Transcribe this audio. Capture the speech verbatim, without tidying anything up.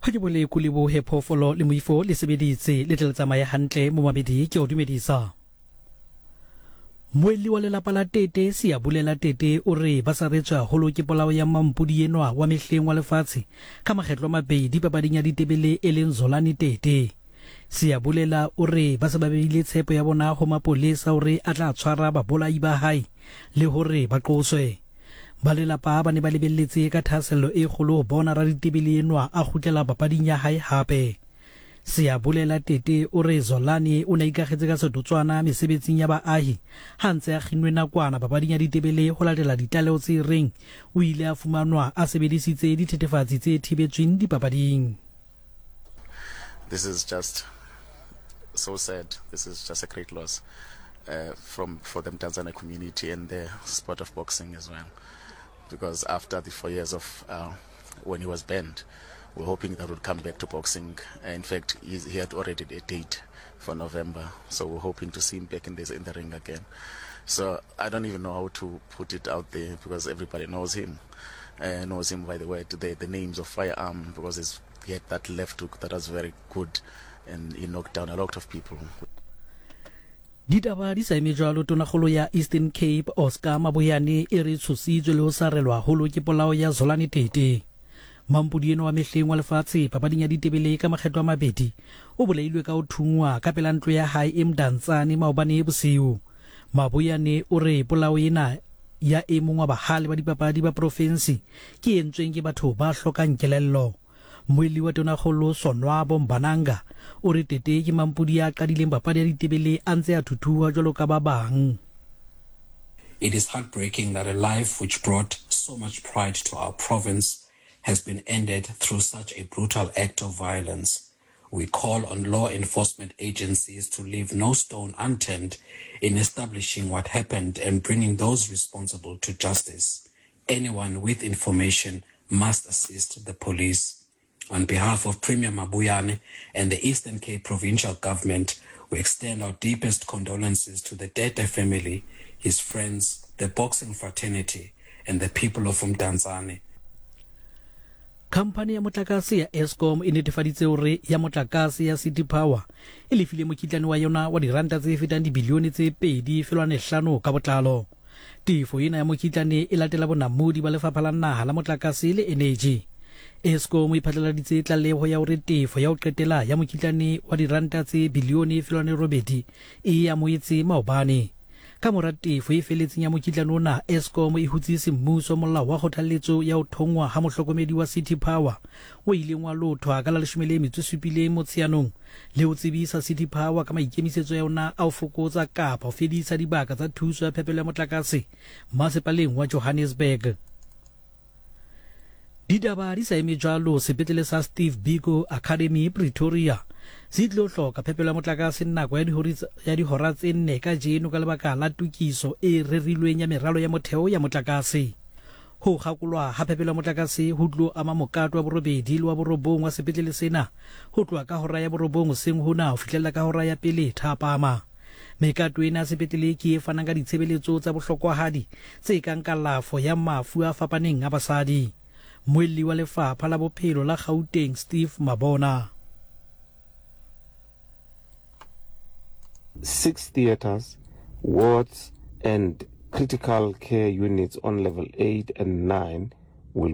Ha ke bole ko lebohe phoofolo le moifo le sebeditse le tle le tsamaye hantle momamedi ke o dumedisa. Moelli wa lelapa la Tete Siyabulela Tete o re ba saretswe haholo ke polao ya mampodi enwa wa mehleng wa lefatshe ka makgetlo a mabedi papading ya ditebele e leng Zolani Tete. Siyabulela o re ba se ba beile tshepo ya bona ho mapolesa hore a tla tshwara babolai ba hae le hore ba qoswe. Ba lelapa ba ne ba lebelletse ka thahasello e kgolo ho bona raditebele enwa a kgutlela papading ya hae hape. Siyabulela Tete o re Zolani o ne a ikakgetse ka setotswana mesebetsing ya baahi ha ntse a kginnwe nakwana papading ya ditebele ho latela ditlaleho tse reng o ile a fumanwa a sebedisitse dithethefatsi tse thibetsweng dipapading. This is just so sad. This is just a great loss uh, from for the Mdantsane community and the sport of boxing as well. Because after the four years of uh, when he was banned, we're hoping that would come back to boxing. In fact, he's, he had already a date for November, so we're hoping to see him back in this in the ring again. So I don't even know how to put it out there because everybody knows him, uh, knows him by the way the, the names of firearm because he's, he had that left hook that was very good, and he knocked down a lot of people. Ditaba di sa eme jwalo tonakgolo ya Eastern Cape Oscar Mabuyane e re tshositswe le ho sarelwa haholo ke polao ya Zolani Tete. Mampodi enwa wa mehleng wa lefatshe papading ya ditebele ka makgetlo a mabedi o bolailwe ka ho thungwa ka pela ntlo ya hae e Mdantsane maobane bosiu. Mabuyane o re polao ena ya e mong wa bahale ba dipapadi ba provinsi ke entsweng ke batho ba hlokang kelello. Moeli wa tonakgolo Sonwabo Mbananga o re Tete ke mampodi ya qadileng papadi ya ditebele a ntse a thuthuha jwalo ka ba bang. It is heartbreaking that a life which brought so much pride to our province has been ended through such a brutal act of violence. We call on law enforcement agencies to leave no stone unturned in establishing what happened and bringing those responsible to justice. Anyone with information must assist the police. On behalf of Premier Mabuyane and the Eastern Cape Provincial Government, we extend our deepest condolences to the Tete family, his friends, the boxing fraternity, and the people of Mdantsane. Khamphani ya motlakase ya Eskom e netefaditse hore ya motlakase ya City Power e lefile mokitlane wa yona wa diranta tse fetang dibilione tse pedi felwane hlano ka botlalo. Tefo ena ya mokitlane e latela bonamodi ba lefapha la naha la motlakase le energy. Eskom e phatlaladitse tlaleho ya hore tefo ya ho qetela ya mokitlane wa diranta tse bilione felwane robedi e amohetse maobane. Ka mora tefo e feletseng ya mokitlane ona, Eskom e hutse semmuso molao wa kgothaletso ya ho thongwa ha mohlokomedi wa City Power o ileng wa lothwa ka la leshome le metso e supileng Motsheanong le ho tsebisa City Power ka maikemisetso ya yona a ho fokotsa kapa ho fedisa dibaka tsa thuso ya phepelo ya motlakase masepaleng wa Johannesburg. Ditaba di sa eme jwalo, sepetlele sa Steve Biko Academy Pretoria se tlo hloka phepelo ya motlakase nako ya dihora ya dihora tse nne kajeno ka lebaka la tokiso e rerilweng ya meralo ya motheo ya motlakase. Ho kgakolwa ha phepelo ya motlakase ho tlo ama mokato wa borobedi le wa borobong wa sepetlele sena ho tloha ka hora ya borobong hoseng hona ho fihlella ka hora ya pele thapama. Mekato ena ya sepetlele ke e fanang ka ditshebeletso tsa bohlokwahadi tse kang kalafo ya mafu a fapaneng a basadi. Moelli wa lefapha la bophelo la Gauteng Steve Mabona. Six theaters, wards, and critical care units on level eight and nine will be